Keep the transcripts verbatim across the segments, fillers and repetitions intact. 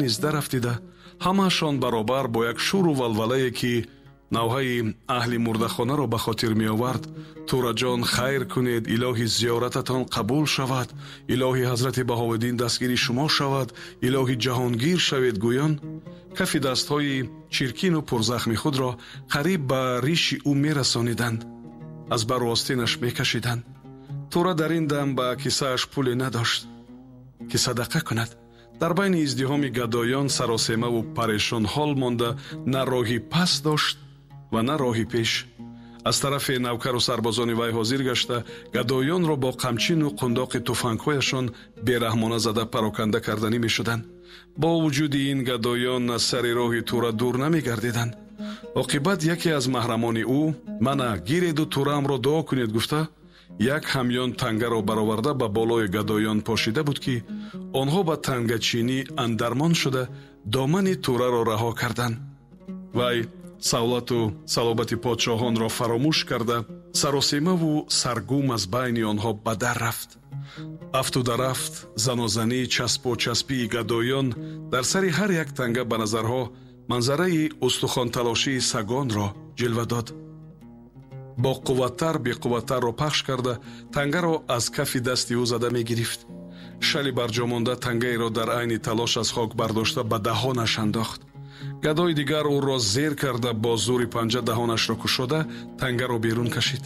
низ дарафтида, ҳамаашон баробар бо як шуру валвалае, ки навҳаи аҳли мурдахонаро ба хотир меовард: «Тураҷон, хайр кунед, илоҳи зиёрататон қабул шавад, илоҳи ҳазрати Баҳовиддин дастгири шумо шавад, илоҳи ҷаҳонгир шавед» гӯён, кафи дастҳои чиркину пурзахми худро қариб ба риши ӯ мерасониданд, аз бару остинаш мекашиданд. Тура дар ин дам ба кисааш пуле надошт, ки садақа кунад. Дар байни издиҳоми гадоён саросемаву парешонҳол монда, на роҳи пас дошт ва на роҳи пеш. Аз тарафе навкару сарбозони вай ҳозир гашта, гадоёнро бо қамчину қундоқи туфангҳояшон бераҳмона зада пароканда карданӣ мешуданд. Бо вуҷуди ин, гадоён аз сари роҳи Тура дур намегардиданд. Оқибат яке аз маҳрамони ӯ: «Мана, гиреду Тураамро дуо кунед» гуфта, як ҳамён тангаро бароварда ба болои гадоён пошида буд, ки онҳо ба тангачинӣ андармон шуда, домани Тураро раҳо карданд. Вай савлату салобати подшоҳонро фаромӯш карда, саросемаву саргум аз байни онҳо ба дар рафт. Афту дарафт, занозанӣ, часпу часпии гадоён дар сари ҳар як танга ба назарҳо манзараи устухонталошии сагонро ҷилва дод. Бо қувваттар беқувваттарро пахш карда, тангаро аз кафи дасти ӯ зада мегирифт. Шали барҷомонда тангаеро дар айни талош аз хок бардошта, ба даҳонаш андохт. Гадои дигар ӯро зер карда, бо зӯри панҷа даҳонашро кушода, тангаро берун кашид.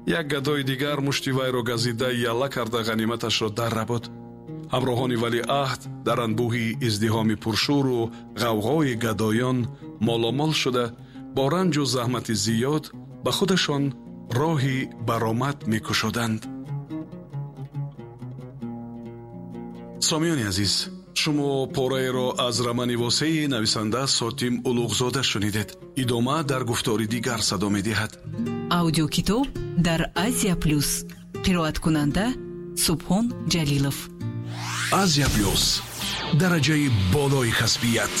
Як гадои дигар мушти вайро газида, ялла карда, ғаниматашро дар рабуд. Ҳамроҳони валиаҳд дар анбӯҳи издиҳоми пуршӯру ғавғои гадоён моломол шуда, бо ранҷу заҳмати зиёд ба худашон роҳи баромад мекушоданд. Сомиёни азиз, шумо пораеро аз романи восеи нависанда Сотим Улуғзода шунидед. Идома дар гуфтори дигар садо медиҳад. Аудиокитоб дар Азия Плюс. Қироаткунанда Субҳон Ҷалилов. Азия Плюс, дараҷаи болои касбият.